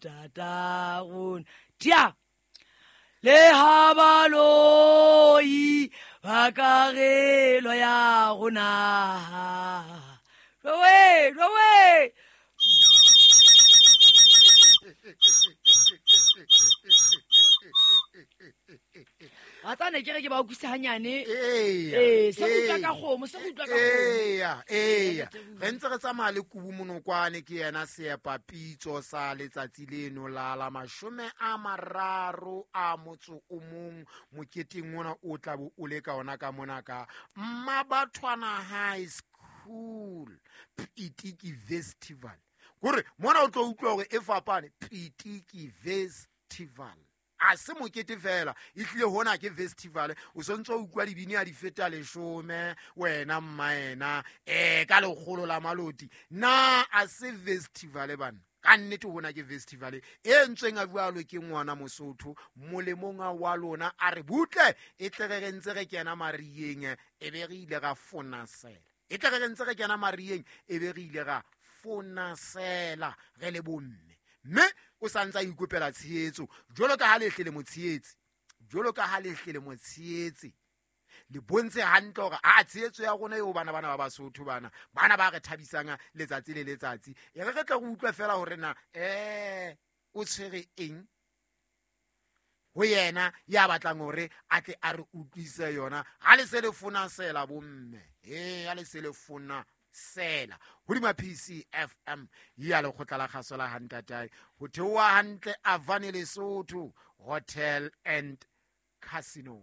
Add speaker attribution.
Speaker 1: Tatagona tia le ha baloi ba ka gelo ya gona rowe rowe. Wa tsane ke re ke ba utlwise hanyane. Ee, se go utlwa ka kgomo, se go utlwa ka kgomo.
Speaker 2: Eya, eya, re ntse re tsamaya le Kubu Monokwane, ke yena seepa pitso sa letsatsi leno la 31 moketeng ona o tla bo o le ka ona ka mona ka Mmabathwana High School Pitiki Festival. Kore mona o tlo utlwa hore e fapane Pitiki Festival. A se mokete fela, e tlile hona ke festival. O sontse o utlwa dibini a di feta 10 wena mmaena, ka 100 la maloti. Na a se festival bana? Ka nnete hona ke festival e ntsweng a jwalo ke ngwana Mosotho molemong wa lona, a re butle e tle re re ntse re kena marieng e be re ile ra fonasela. E tle re re ntse re kena marieng e be re ile ra fonasela re le bomme. Mme o sa ntse a ikopela tshehetso jwalo ka ha le hle le mo tshehetse, jwalo ka ha le hle le mo tshehetse, le bontshe hantle hore a tshehetso ya rona eo bana bana ba Basotho bana, bana ba re thabisang letsatsi le letsatsi. E re re tle re utlwe fela hore na o tshwere eng ho yena ya batlang hore a tle a re utlwise yona. Ha le se le fonasela bomme, ha le se le fona sela hodima PCFM ya lekgotla la kgaso la Hantatae, ho theoha hantle Avane Lesotho Hotel and Casino.